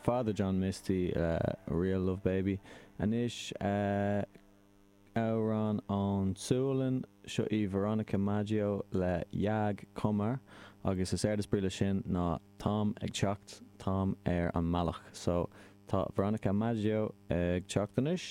Father John Misty le Real Love Baby. Anois amhrán ón tSualainn, seo í Veronica Maggio le Jag kommer agus is éard is brí leis sin ná táim ag teacht, táim ar an mbealach. So tá Veronica Maggio ag teacht anois.